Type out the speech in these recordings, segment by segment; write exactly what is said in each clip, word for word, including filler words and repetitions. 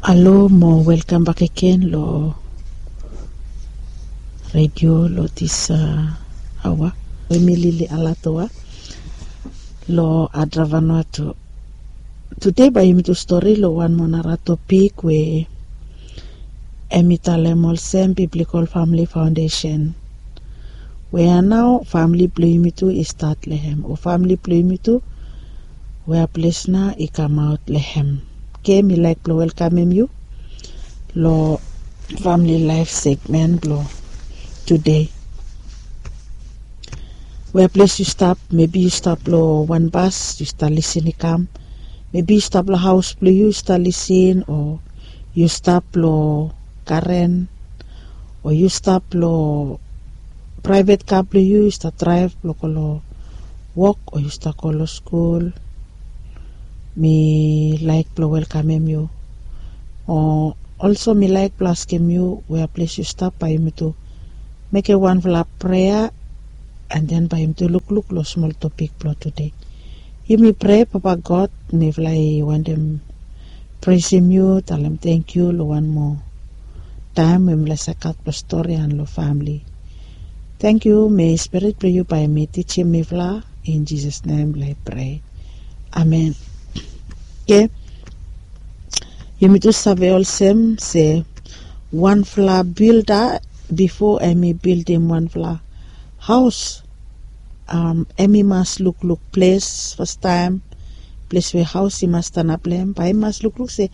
Alo mo welkam bakegen lo redio lo dis aoa. Emi Lili Alatoa lo Adra Vanuatu. Tude bae yumi tu stori lo wan moa nara topik we emi talem olsem Biblical Family Foundation. Wea nao famili blong yumi tu i stat long hem, o famili blong yumi tu wea ples nao i kamaot long hem. Oke, mi laek blong welkamem yu long famili laef segmen blong tude. Wea ples yu stap, mebi yu stap long wan bas yu stap lisin i kam. Mebi yu stap long haos blong yu yu stap lisin, o yu stap long garen, o yu stap long praevet ka blong yu yu stap draev blong go long wok, o yu stap go long skul. Mi laek blong welkamem yu. O olso mi laek blong askem yu wea ples yu stap, bae yumi tu mekem wanfala prea, an den bae yumi tu lukluk long smol topik blong tude. Yumi prea. Papa God, mifala i wantem presim yu, talem tangkiu long wan moa taem we mifala save gat blong stori an long famili. Tangkiu, mei Spirit blong yu bae mi tijim mifala. In Jisas nem mifala i prea. Amen. Oke. Yumi tu save olsem se wanfala bilda, bifo emi bildim wanfala haos, emi mas lukluk ples fastaem, ples we haos i mas stanap long hem. Bae emi mas lukluk se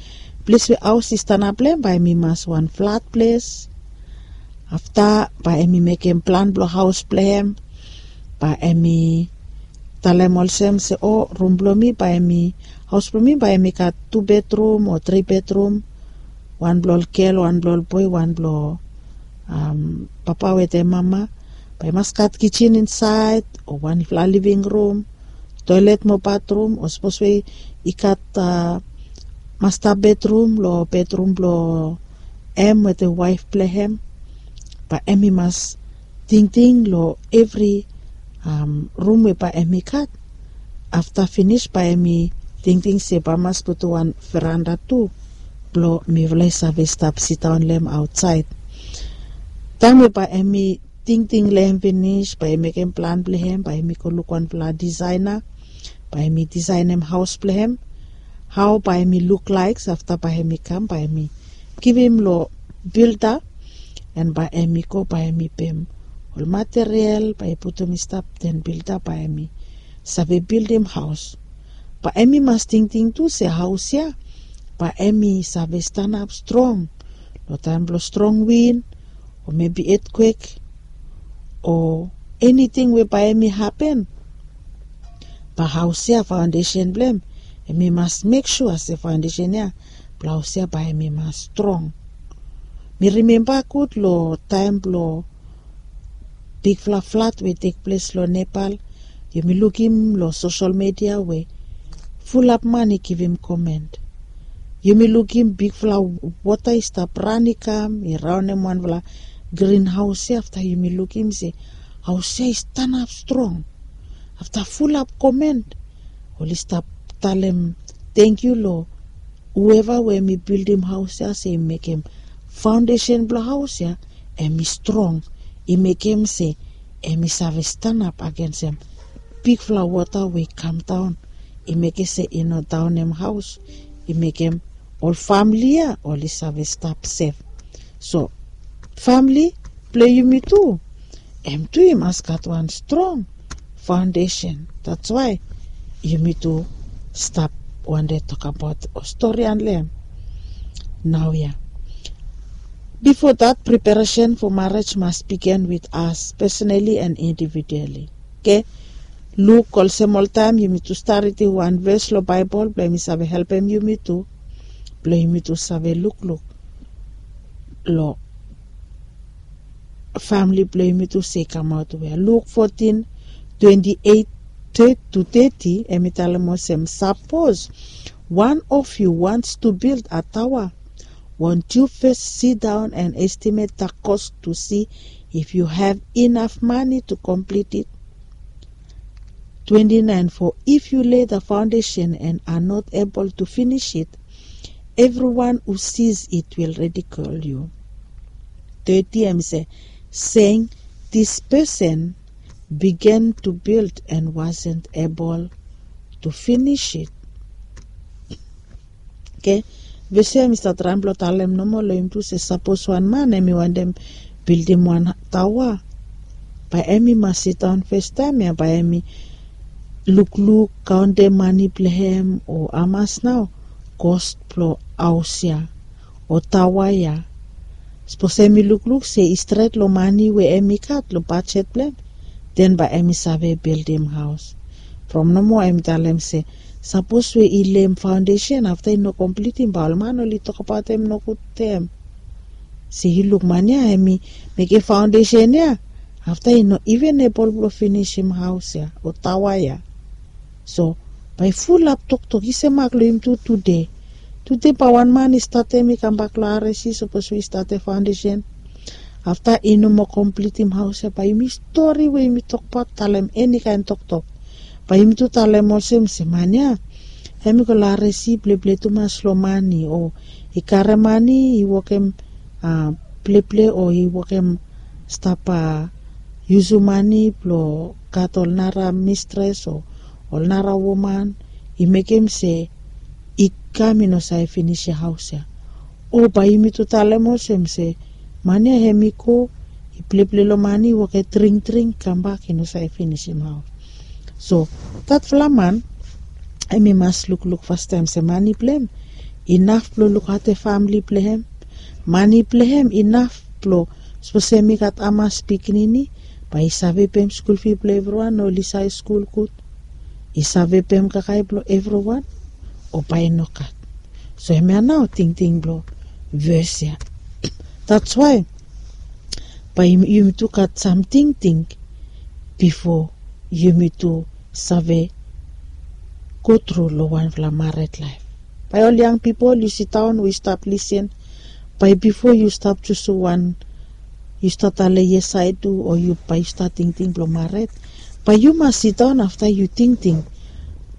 ples we haos i stanap long hem bae emi mas wan flat ples. Afta bae emi mekem plan blong haos blong hem. Bae emi talem olsem se, o, rum blong mi bae emi, haos blong mi bae emi gat tu bedrum o tri bedrum. Wan blong ol gel, wan blong ol boe, wan blong papa wetem mama. Bae i mas gat kijin insaed, o wanfala living rum, toelet mo batrum, o sapos we i gat masta bedrum long bedrum blong hem wetem waef blong hem. Bae emi mas tingting long evri rum we bae emi gat. Afta finis bae emi tingting se bae i mas putum wan veranda tu blong mifala i save stap sidaon long hem aotsaed. Taem we bae emi tingting long hem finis, bae i mekem plan blong hem, bae emi go luk wanfala disaena, bae emi disaenem haos blong hem, hao bae emi luklaek. Afta bae emi kam, bae emi givim long bilda, an bae emi go, bae emi pem ol material bae i putum i stap, den bilda bae emi save bildim haos. Bae emi mas tingting tu se haos ya bae emi save stanap strong long taem blong strong win, o mebi etkwek, o eniting we bae emi hapen. Bae haos ya, faondesen blong hem, emi mas mek sua se faondesen ya blong haos ya bae emi mas strong. Mi rimemba gud long taem blong bigfala flat we i tekples long Nepal. Yumi lukim long sosel midia we fulap man i givim komen. Yumi lukim bigfala wota i stap ran i kam, i raonem wanfala grin haos ya. Afta yumi lukim se haos ya i stanap strong. Afta fulap komen, oli stap talem tangkiu long hueva we emi bildim haos ya se i mekem faondesen blong haos ya emi strong, i mekem se emi save stanap agensem bigfala wota we i kamdaon, i mekem se i no daonem haos, i mekem ol famili ya oli save stap sef. So famili blong yumi tu, hem tu i mas gat wan strong faondesen. That's why yumi tu stap wande tokbaot o stori long hem naoia. Bifo dat, preparesen fo marriage mas bigin with us personally and individually. Oke. Luk olsem oltaem yumi tu stap ridim wan ves long Baebol blong emi save helpem yumi tu blong yumi tu save lukluk long famili blong yumi tu se i kamaot wea. Luk fotin, twenti eit tu teti, emi talem olsem, sapos wan of yu wants tu bild a taoa, won't yu fes sidaon an estimet da kos tu si if yu have inaf mane tu komplit it? Twenti naen, fo if yu lei da faondesen an a not ebol tu finis it, everyone who sees it will ridicule you. Thirty, em i se, saying, this person began to build and wasn't able to finish it. Okay. Ves ya em i stap traem blong talem nomo long yumi tu se sapos wan man em i wantem bildim wan taoa, bae em i mas sidaon fastaem ya bae em i lukluk, kaontem mane blong hem o hamas nao kos blong haos ya o taoa ya. Sapos em i lukluk se i stret long mane we em i gat long bajet blong hem, den bae em i save bildim haos. From nomo em i talem se sapos we i leem faondesen afta i no komplitim bae ol man oli tokbaot hem nogud tem. Se yu luk man ya em i mekem faondesen ya, afta i no iven ebol blong finisim haos ya o taoa ya. So bae i fulap toktok i se mak long yumi tu tude. Tude bae wan man i statem i kambak long aresi sapos we i statem faondesen, afta i no moa komplitim haos ya bae yumi stori we yumi tokbaot talem eni kaen toktok. Bae yumi tu talem olsem se man ya em i go long aresi pleple tumas long mane o i karem mane i wokem pleple o i wokem stap yusum mane blong gat ol nara mistres o ol nara woman i mekem se i kam i no save finisim haos ya. O bae yumi tu talem olsem se man ya em i go i pleple long mane i wokem dringdring kambak i no save finisim haos. So datfala man em i mas lukluk fastaem se mane blong hem inaf blong lukaotem famili blong hem. Mane blong hem inaf blong sapos em i gat hamas pikinini bae i save pem skul fi blong evriwan o oli save skul gud, i save pem kakae blong evriwan o bae i no gat. So hemia nao tingting blong ves ya. That's why bae yumi tu gat sam tingting bifo yumi tu save go tru long wanfala mared laef. Bae ol yang pipol yu sidaon we yu stap lisin, bae bifo yu stap jusum wan yu stap talem yes ae tu o yu bae yu stap tingting blong mared, bae yu mas sidaon afta yu tingting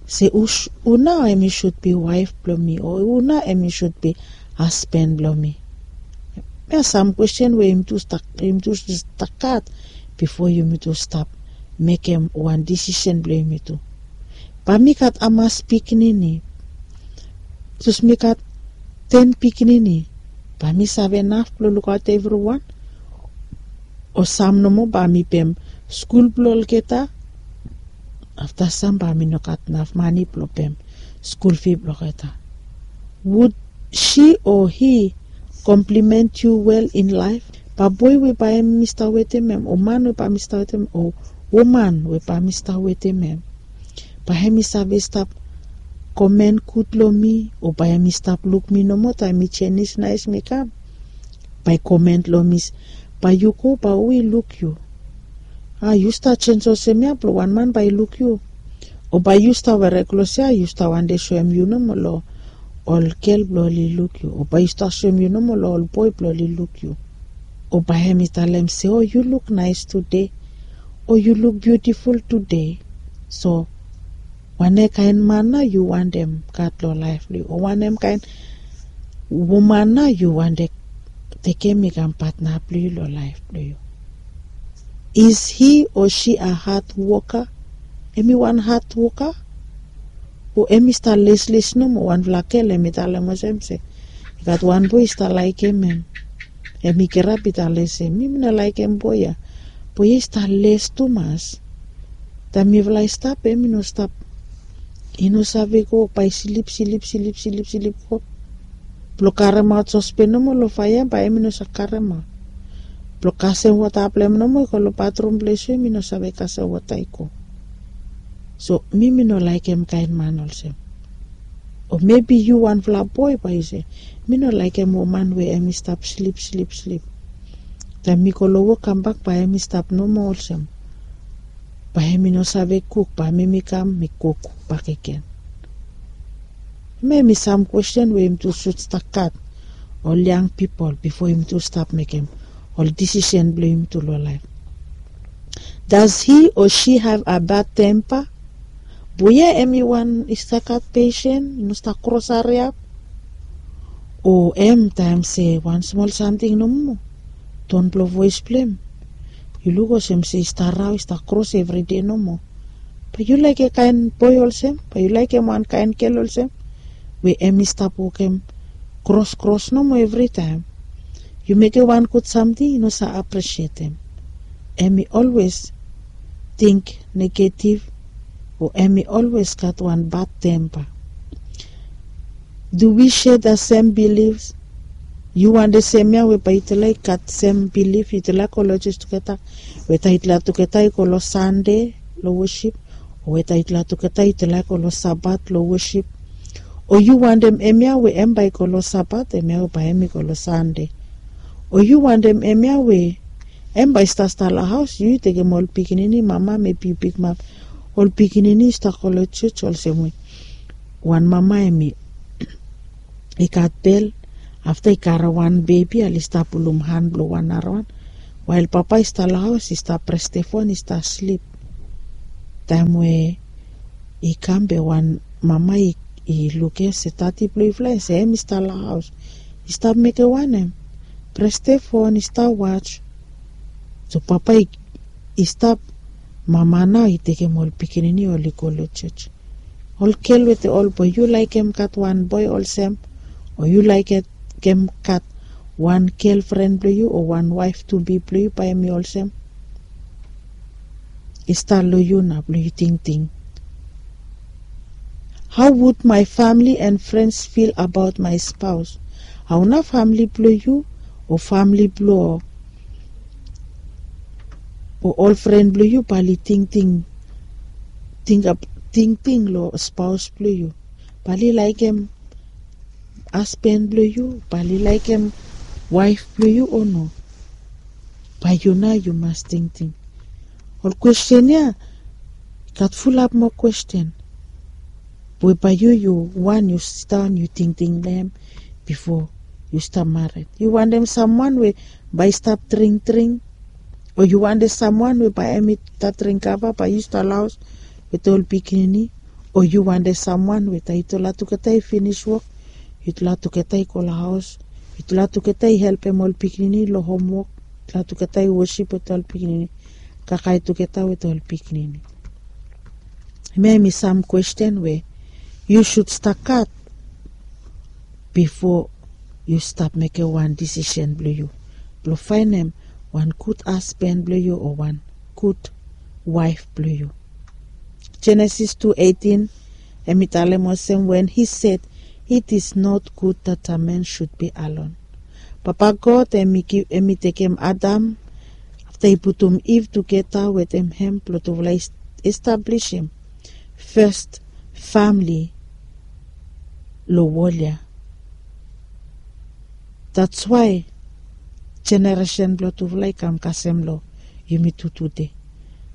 se hu nao em i sud bi waef blong mi o hu nao em i sud bi hasben blong mi. Hemia sam kwesten we yumi tu stak gat bifo yumi tu stap mekem wan disisen blong yumi tu. Bae mi gat hamas pikinini? Sapos mi gat ten pikinini, bae mi save naf blong lukaot evriwan? O sam nomo bae mi pem skul blong olgeta? Afta sam bae mi no gat naf mane blong pem skul fi blong olgeta. Would she or he compliment you well in life? Bae boe we bae mi stap wetem hem o man we bae mi stap wetem hem o woman we bae mi stap wetem hem, bae hem i save stap komen gud long mi o bae hem i stap luk mi nomo taem mi jenis naes mi kam? Bae i komen long mi se, bae yu go bae hu i luk yu? A yu stap jens olsem ya blong wan man bae i luk yu? O bae yu stap were klos ya yu stap wantem soem yu nomo long ol gel blong oli luk yu o bae yu stap soem yu nomo long ol boe blong oli luk yu? O bae hem i talem se o yu luk naes tude o yu luk biutiful tude. So wanem kaen man nao yu wantem gat long laef blong yu o wanem kaen woman nao yu wantem tekem i kam patna blong yu long laef blong yu? Is he or she a hard woka? Hem i wan hard woka o hem i stap lesles nomo? Wanfala gel hem i talem olsem se i gat wan boe i stap laekem hem. Hem i kirap i talem se mi mi no laekem boe ya. Boe ya i stap les tumas. Taem mifala i stap hem i no stap, i no save go bae i slip slip slip slip slip go blong karemaot sospen nomo long faea bae hem i no save karemaot. Blong kasem wota blong hem nomo i go long batrum ples we hem i no save kasem wota i go. So mi mi no laekem kaen man olsem. O mebi yu wanfala boe bae yu se mi no laekem woman we hem i stap slip slip slip. Taem mi go long wok kambak bae hem i stap nomo olsem. Bae hem i no save kuk bae mi mi kam mi kuk bakegen. Hemia hem i sam kwesten we yumi tu sud stap gat ol yang pipol bifo yumi tu stap mekem ol disisen blong yumi tu long laef. Does he or she have a bad temper? Boe ya hem i wan i stap gat pesen i no stap kros hariap? O em taem se wan smol samting nomo, ton blong voes blong em, yu luk olsem se i stap rao, i stap kros evride nomo. Bae yu laekem kaen boe olsem? Bae yu laekem wan kaen gel olsem, we em i stap wokem kros kros nomo evritaem? Yu mekem wan gud samting, i no save apresietem. Em i olwes ting negetiv, o em i olwes gat wan bad tempa. Do we share the same beliefs? Yu wantem semia we bae yutala i gat sem bilif, yutala i go long jos tugeta, we taem yutala tugeta i go long Sande long wosip, o we taem yutala tugeta yutala i go long Sabat long wosip? O yu wantem hemia we em bae i go long Sabat, hemia we bae em i go long Sande? O yu wantem hemia we em bae i stap stap long haos, yu tekem ol pikinini, mama, mebi yu pikimap ol pikinini i stap go long jos olsem we wan mama em i i gat bel, afta i karem wan bebi, oli stap pulum han blong wan narawan, wael papa i stap long haos i stap pres defon, i stap slip. Taem we i kam be wan mama i lukim se dadi blong yufala, se em i stap long haos, i stap mekem wanem? Pres defon, i stap was. So papa i stap, mama nao i tekem ol pikinini, oli go long jos. Ol gel wetem ol boe, yu laekem gat wan boe olsem, o yu laekem gat wan gelfren blong yu o wan waef tubi blong yu bae em i olsem? I stap long yu nao blong yu tingting. How would my family and friends feel about my spouse? Hao nao famle blong yu o famle blong o ol fren blong yu bae oli tingting, tingting long spaos blong yu? Bae oli laekem hasban blong yu? Bae oli laekem waef blong yu o no? Bae yu nao yu mas tingting. Ol kwesten ya i gat fulap moa kwesten we bae yu, yu wan yu sidaon yu tingting long hem bifo yu stap mared. Yu wantem samwan we bae i stap dringdring, o yu wantem samwan we bae hem i stap dring kava bae yu stap long haos wetem ol pikinini? O yu wantem samwan we taem yutala tugeta i finis wok, yutala tugeta i go long haos, yutala tugeta i helpem ol pikinini long homwok, yutala tugeta i wosip wetem ol pikinini, kakae tugeta wetem ol pikinini? Hemia hem i sam kwesten we yu sud stap gat bifo yu stap mekem wan disisen blong yu blong faenem wan gud hasban blong yu o wan gud waef blong yu. Jenesis tu eitin hem i talem olsem, when he said, "It is not good that a man should be alone." Papa God hem i tekem Adam afta i putum Iv tugeta wetem hem blong tufala i establisim fes famle long wol ya. That's why jeneresen blong tufala i kam kasem long yumi tu tude.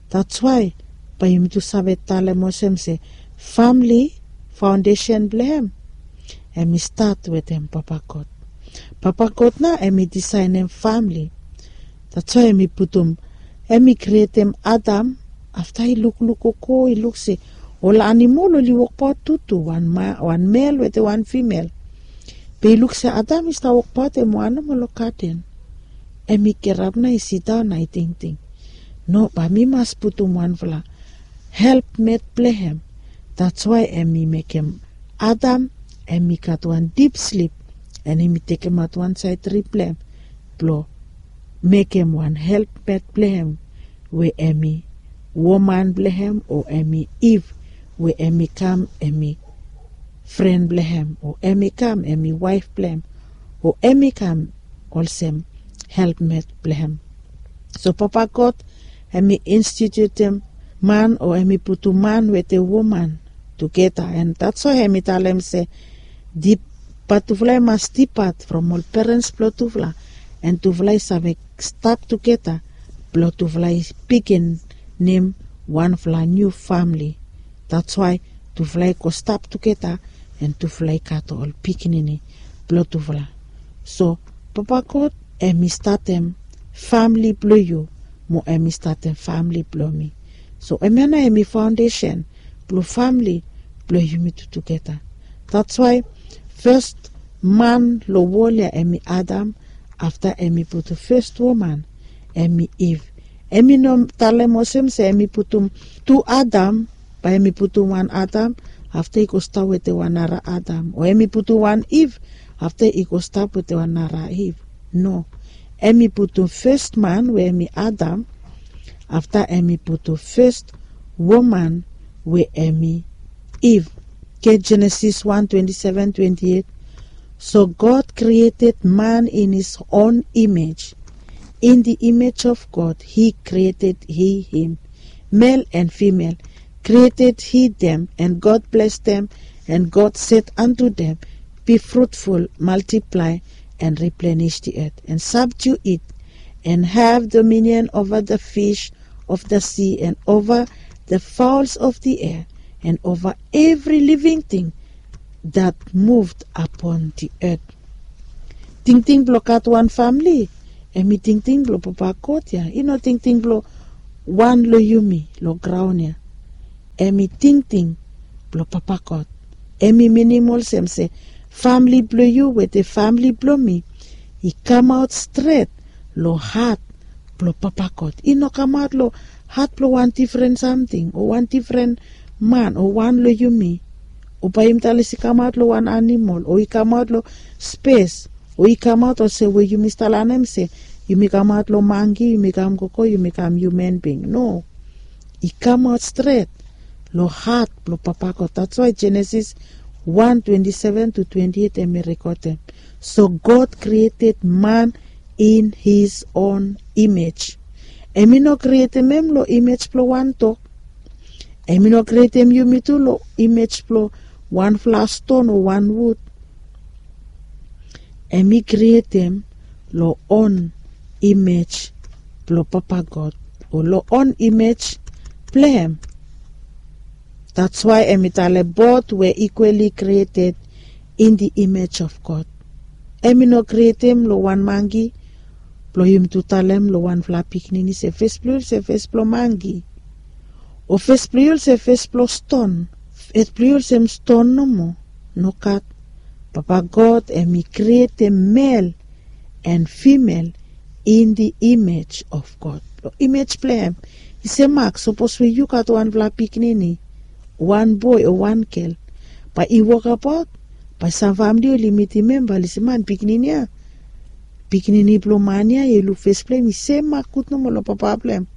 That's why bae yumi tu save talem olsem se famle, faondesen blong hem, hem i stat wetem Papa God. Papa God nao hem i disaenem famle. That's why hem i putum, hem i krietem Adam. Afta i lukluk gogo, i luk se ol animol oli wokbaot tutu, wan mel wetem wan fimel. Be i luk se Adam i stap wokbaot hem wan nomo long gaden. Hem i kirap nao i sidaon nao i tingting, no, bae mi mas putum wanfala helpmet blong hem. That's why hem i mekem Adam hem i gat wan dip slip, and hem i tekemaot wan saed rib blong hem blong mekem wan helpmet blong hem, we hem i woman blong hem, o hem i Iv, we hem i kam hem i fren blong hem, o hem i kam hem i waef blong hem, o hem i kam olsem helpmet blong hem. So Papa God hem i institutem man, o hem i putum man wetem woman tugeta, and that's why hem i talem se, bae tufala i mas dipat from ol perens blong tufala, and tufala i save stap tugeta blong tufala i biginim wanfala niu famle. That's why tufala i go stap tugeta, and tufala i gat ol pikinini blong tufala. So Papa God hem i statem famle blong yu, mo hem i statem famle blong mi. So hemia nao hem i faondesen blong famle blong yumi tu tugeta. That's why fes man long wol ya hem i Adam, afta hem i putum fes woman, hem i Iv. Hem i no talem olsem se hem i putum tu Adam, bae hem i putum wan Adam, afta i go stap wetem wan nara Adam, o hem i putum wan Iv, afta i go stap wetem wan nara Iv. No, hem i putum fes man we hem i Adam, afta hem i putum fes woman we hem i Iv. Get Genesis one twenty-seven, twenty-eight. So God created man in his own image. In the image of God, he created he him. Male and female created he them, and God blessed them, and God said unto them, be fruitful, multiply, and replenish the earth, and subdue it, and have dominion over the fish of the sea, and over the fowls of the air, and over every living thing that moved upon the earth. Tingting blong gat wan famili, hem i tingting blong Papa God ya, i no tingting blong wan long yumi long graon ya. Hem i tingting blong Papa God. Hem i minim olsem se famili blong yu wetem famili blong mi i kamaot stret long hat blong Papa God. I no kamaot long hat blong wan difren samting o wan difren man o wan long yumi. O bae yumi talem se i kamaot long wan animol, o i kamaot long spes, o i kamaot olsem we yumi stap lanem se yumi kamaot long mangi, yumi kam gogo, yumi kam human being. No, i kamaot stret long hat blong Papa God. That's why Genesis one twenty-seven to twenty-eight hem i rekodem. So God created man in his own image. Hem i no krietem hem long image blong wan dog. Hem i no krietem yumi tu long image blong wanfala ston o wan wud. Hem i krietem long own image blong Papa God, o long own image blong hem. That's why hem i talem both were equally created in the image of God. Hem i no krietem long wan mangi blong yumi tu talem long wanfala pikinini se fes blong yu olsem fes blong mangi, o fes blong yu olsem fes blong ston, fes blong yu olsem ston nomo. Nogat. Papa God hem i krietem male and female in the image of God. Long image blong hem. I semak sapos we yu gat wanfala pikinini, wan boe o wan gel, bae i wokabaot, bae sam famili oli mitim hem bae oli se man pikinini ya, pikinini blong man ya, yu luk fes blong hem i semak gud nomo long papa blong hem,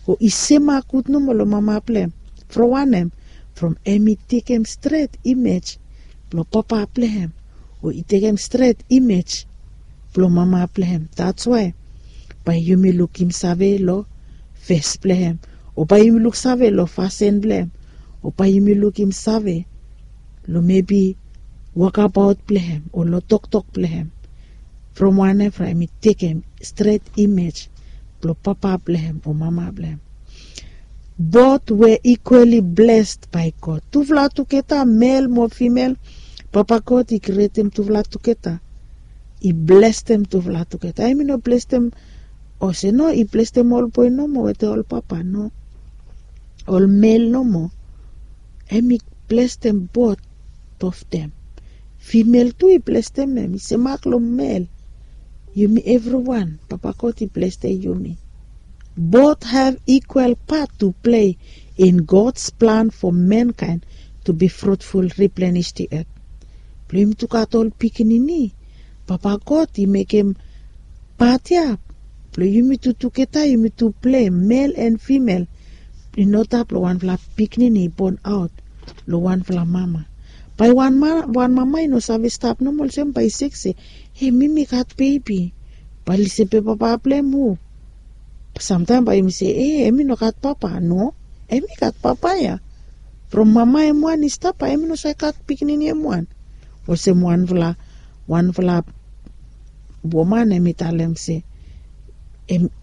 o i semak gud nomo long mama blong hem. From wanem? From hem i tekem stret image blong papa blong hem, o i tekem stret image blong mama blong hem. That's why bae yumi lukim save long fes blong hem, o bae yumi luksave long fasin blong hem, o bae yumi lukim save long mebi wokabaot blong hem o long toktok blong hem. From wanem? From hem i tekem stret image blong papa blong hem o mama blong hem. Both were equally blessed by God. Tufala tugeta, mel mo fimel, Papa God i krietem tufala tugeta. I blestem tufala tugeta. Hem i no blestem olsem no i blestem ol boe nomo wetem ol papa, no. Ol mel nomo. Hem i blestem both of them. Fimel tu i blestem hem, i semak long mel. Yumi evriwan Papa God i blestem yumi. Both have equal part to play in God's plan for mankind to be fruitful, replenish the earth. Blong yumi tu gat ol pikinini, Papa God i mekem pat ya blong yumi tu tugeta yumi tu plei, mel and fimel. I no stap long wanfala pikinini i bon aot long wanfala mama. Bae wan mama i no save stap nomo olsem bae i sek se, e, mi mi gat bebi. Bae oli se be papa blong hem hu? Samtaem bae yumi se, e, hem i no gat papa. No, hem i gat papa ya. From mama hem wan i stap, bae hem i no save gat pikinini hem wan. Olsem wanfala, wanfala woman hem i talem se,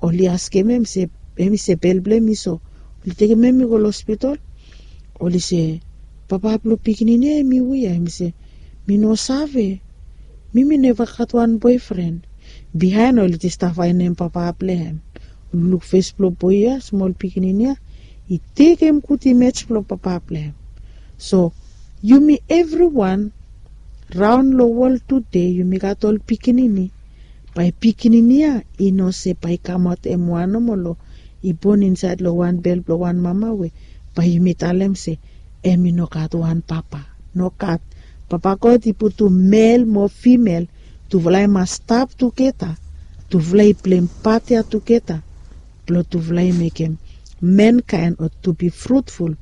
oli askem hem se, hem i se bel blong hem i so. Oli tekem hem i go long hospital. Oli se, papa blong pikinini ya hem i hu ya? Hem i se, mi no save. Mi mi neva gat wan boefren. Bihaen oli stap faenem papa blong hem. Oli luk fes blong boe ya, smol pikinini ya, i tekem gud imej blong papa blong hem. So yumi evriwan raon long wol tude yumi gat ol pikinini. Bae pikinini ya i no se bae i kamaot hem wan nomo long i bon insaed long wan bel blong wan mama we bae yumi talem se hem i no gat wan papa. Nogat. Papa God i putum mel mo fimel, tufala i mas stap tugeta. Tufala i pleim pat ya tugeta blong tufala i mekem mankaen o tu bi frutful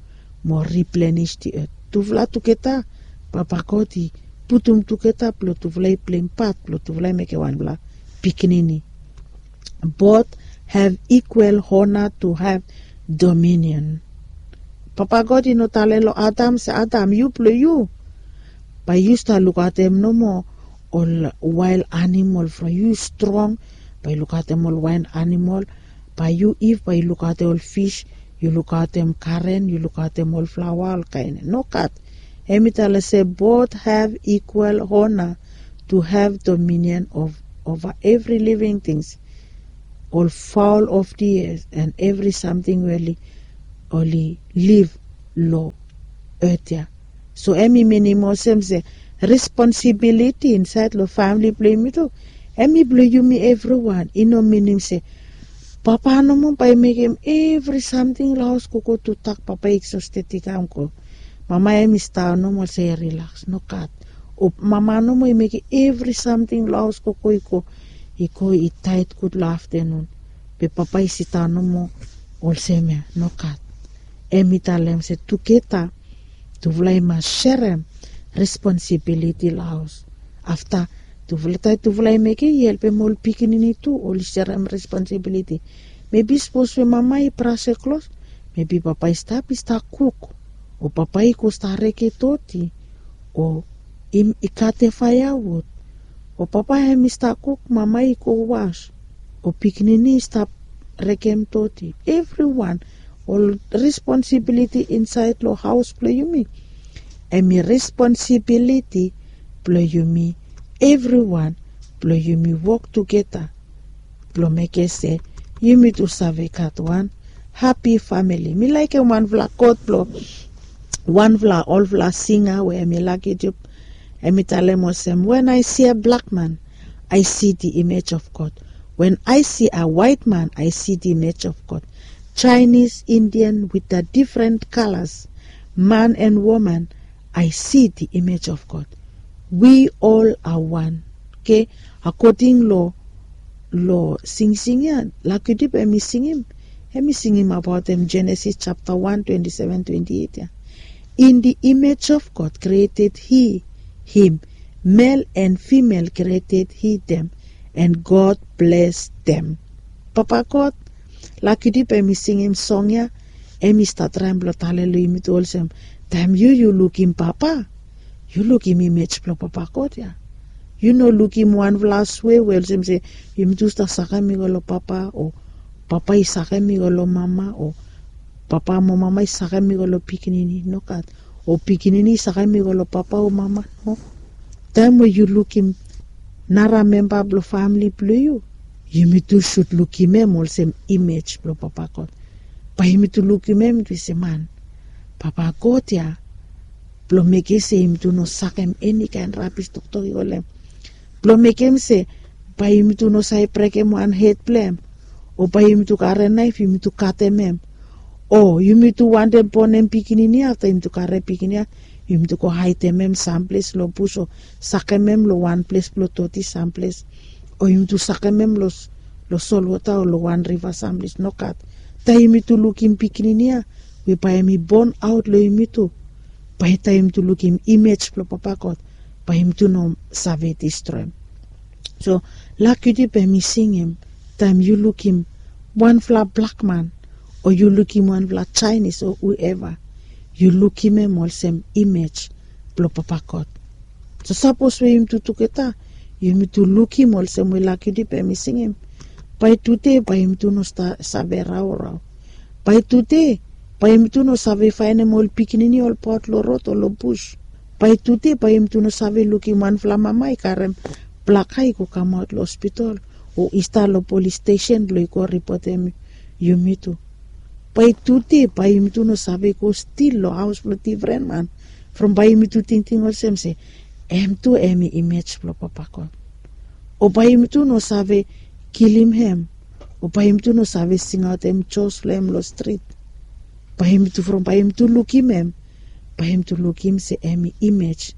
mo riplenis di et. Tufala tugeta, Papa God i putum tugeta blong tufala i pleim pat blong tufala i mekem wanfala pikinini. Both have equal honor to have dominion. Papa God i no talem long Adam se, Adam, yu blong yu. Bae yu stap lukaotem nomo ol wael animol from yu strong, bae yu lukaotem ol wael animol. Bae yu Iv bae yu lukaotem ol fis, yu lukaotem garen, yu lukaotem ol flaoa, olkaen. Nogat. Hem i talem se both have equal honor to have dominion of, over every living things, ol fowl of the air and every samting we oli liv long et ya. So hem i minim olsem se responsibiliti insaed long famili blong yumi tu, hem i blong yumi evriwan. I no minim se papa nomo bae i mekem evri samting long haos gogo. Tutak papa i eksosted i kam go. Mama hem i stap nomo olsem i rilaks. Nogat. O mama nomo i mekem evri samting long haos gogo i go, i go i taed gud long aftenun. Be papa i sidaon nomo olsem ya. Nogat. Hem i talem se tugeta tufala i mas serem responsibiliti long haos. Afta tufala, taem tufala i mekem, i helpem ol pikinini tu oli serem responsibiliti. Mebi sapos we mama i brasem klos, mebi papa i stap, i stap kuk, o papa i go stap reke doti, o i katem faeawud, o papa hem i stap kuk, mama i go was, o pikinini i stap rekem doti. Evriwan, ol responsibiliti insaed long haos blong yumi, hem i responsibiliti blong yumi evriwan blong yumi wok tugeta blong mekem se yumi tu save gat wan hapi famili. Mi laekem wanfala kot blong wanfala olfala singa we hem i laki dip. Hem i talem olsem, when I see a black man, I see the image of God. When I see a white man, I see the image of God. Chinese, Indian, with a different colors, man and woman, I see the image of God. We all are one. Okay? Akoding long long singsing ya, Lucky Dube hem i singim, hem i singim abaot hem Genesis japta wan twenti seven twenti eit ya. In the image of God created he him, male and female created he them, and God blessed them. Papa God, Lucky Dube hem i singim song ya, hem i stap traem blong talem long yumi tu olsem, taem yu yu lukim papa, yu lukim imej blong Papa God ya. Yu no lukim wanfala swe we olsem se yumi tu stap sakem i go long papa, o papa i sakem i go long mama, o papa mo mama i sakem i go long pikinini. Nogat. O pikinini i sakem i go long papa o mama. No. Taem we yu lukim nara memba blong famili blong yu, yumi tu sud lukim hem olsem imej blong Papa God. Bae yumi tu lukim hem tu se, man, Papa God ya blong mekem se yumi tu no sakem eni kaen rabis toktok i go long hem. Blong mekem se bae yumi tu no save brekem wan hed blong hem, o bae yumi tu karem naef yumi tu katem hem, o yumi tu wantem bonem pikinini ya, afta yumi tu karem pikinini ya yumi tu go haedem hem samples long bus, o sakem hem long wan ples blong doti samples, o yumi tu sakem hem long solwota o long wan riva samples. Nogat. Taem yumi tu lukim pikinini ya we bae hem i bon aot long yumi tu, bae taem yumi tu lukim imej blong Papa God, bae yumi tu no save distroem. So Lucky Dube hem i singim, taem yu lukim wanfala blak man, o yu lukim wanfala Jaenis o hueva, yu lukim hem olsem imej blong Papa God. So sapos we yumi tu tugeta yumi tu lukim olsem we Lucky Dube hem i singim, bae tude bae yumi tu no save raorao. Bae tude bae yumi tu no save faenem ol pikinini olbaot long rod o long bus. Bae tude bae yumi tu no save lukim wanfala mama i karem blaka i go kamaot long hospital, o i stap long polis stesen blong i go ripotem yumi tu. Bae tude bae yumi tu no save go stil long haos blong difren man, from bae yumi tu tingting olsem se Em tu em i imej blong Papa God. O bae yumi tu no save kilim hem, o bae yumi tu no save singaotem jos blong hem long strit. Bae yumi tu from bae yumi tu lukim hem, bae yumi tu lukim se em i imej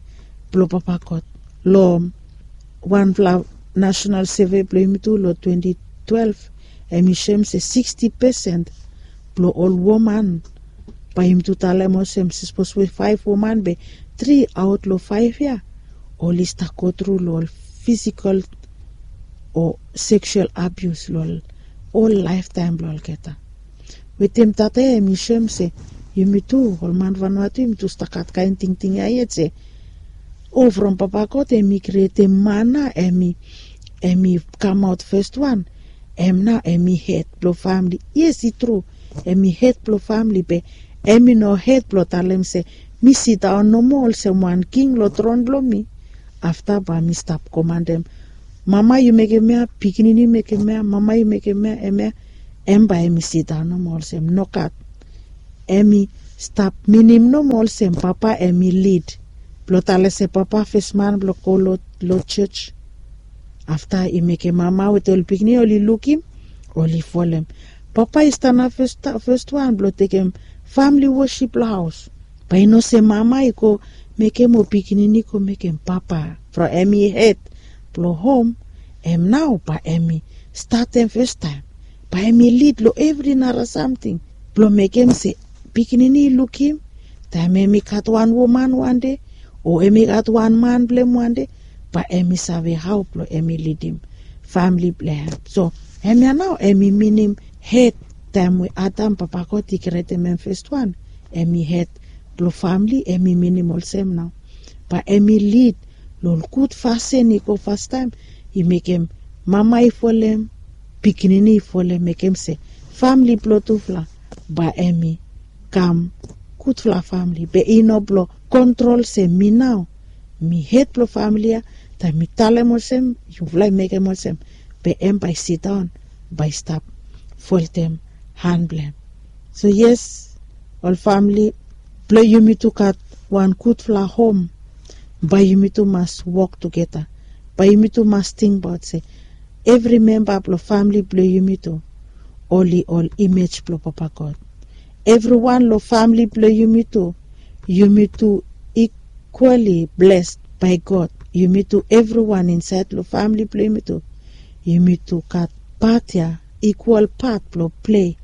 blong Papa God. Long wanfala nasenal seve blong yumi tu long twenti twelef, em i soem se siksti pesen blong ol woman, bae yumi tu talem olsem, sapos we faef woman be tri aot long faef ya oli stap gotru long ol fisikol o seksual abius long ol laeftaem blong olgeta. Wetem tata ya em i soem se yumi tu ol man Vanuatu yumi tu stap gat kaen tingting ya yet se, o from Papa God em i krietem man nao em i, em i kamaot festwan, em nao em i hed blong famle. Yes, i tru, em i hed blong famle, be em i no hed blong talem se mi sidaon nomo olsem wan king long tron blong mi. Afta bae mi stap komandem, mama yu mekem ya, pikinini yu mekem ya, mama yu mekem ya, em ya, em bae em i sidaon nomo olsem. Nogat. Em i stap minim nomo olsem papa em i lid blong talem se papa fes man blong go long, long jos. Afta i mekem mama wetem ol pikinini oli lukim, oli folem. Papa i stanap fes, fes wan blong tekem famle wosip long haos. Bae i no se mama i go mekem o pikinini i go mekem. Papa from em i hed blong hom, em nao bae em i statem festaem, bae em i lid long evri nara samting blong mekem se pikinini i lukim, taem em i gat wan woman wande o em i gat wan man blong hem wande, bae em i save hao blong em i lidim famle blong hem. So hemia nao em i minim hed. Taem we Adam, Papa God i krietem hem fes wan, em i hed blong famle, em i minim olsem nao bae em i lid long ol gud fasin i go fastaem, i mekem mama i folem, pikinini i folem, mekem se famle blong tufala bae em i kam gudfala famle. Be i no blong kontrol se mi nao mi hed blong famle ya, taem mi talem olsem yufala i mekem olsem, be em bae i sidaon, bae i stap foltem han blong hem. So yes, ol famle, blong yumi tu gat wan gudfala hom, bae yumi tu mas wok tugeta. Bae yumi tu mas tingbaot se evri memba blong famle blong yumi tu oli ol imej blong Papa God. Evriwan long famle blong yumi tu, yumi tu ikwali blesed bae God. Yumi tu, evriwan insaed long famle blong yumi tu, yumi tu gat pat ya, ikwal pat blong plei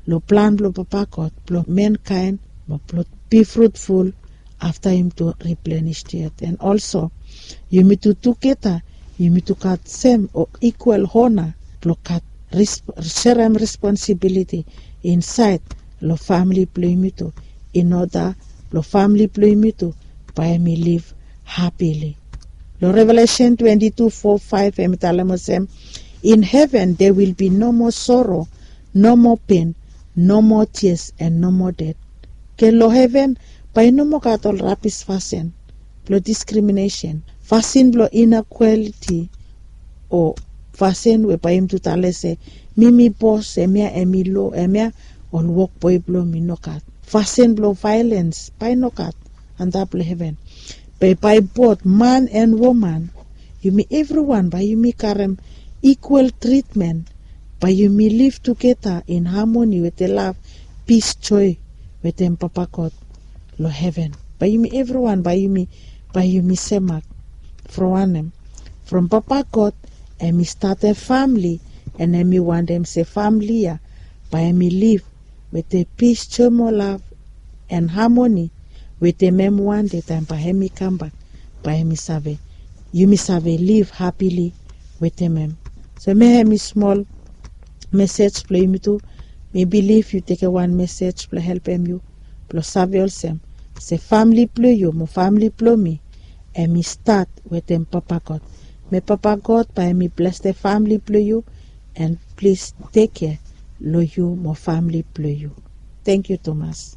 long plan blong Papa God blong mankaen, mo blong be frutful afta yumi tu riplenish diat. And also yumi tu tugeta yumi tu gat sem o ikwal hona blong gat serem responsibiliti insaed long famle blong yumi tu, in oda blong famle blong yumi tu bae em i liv hapili. Long Revelesen twenti tu fo faef em i talem olsem, in heven there will be no more sorrow, no more pain, no more tears and no more death. Ke long heven bae i no moa gat ol rabis fasin blong diskriminesen, fasin blong inekwaliti, o fasin we bae yumi tu talem se mi mi bos, hemia em i lo, hemia ol wokboe blong mi. Nogat. Fasin blong vaelens bae i nogat antap long heven. Be bae bot man and woman, yumi evriwan bae yumi karem ikwal tritmen, bae yumi liv tugeta in hamoni wetem lav, pis, joe wetem Papa God long heven. Bae yumi evriwan bae yumi, bae yumi semak. From wanem? From Papa God em i statem famle, and em i wantem se famle ya bae em i liv wetem pis, joe mo lav and hamoni wetem em wande taem bae em i kambak, bae em i save, yumi save liv hapili wetem em. So hemia em i smol mesej blong yumi tu. Mi bilif yu tekem wan mesej blong helpem yu blong save olsem se famle blong yu mo famle blong mi em i stat wetem Papa God. Me Papa God bae em i blesem famle blong yu, and plis tekem kea long yu mo famle blong yu. Tangkiu tumas.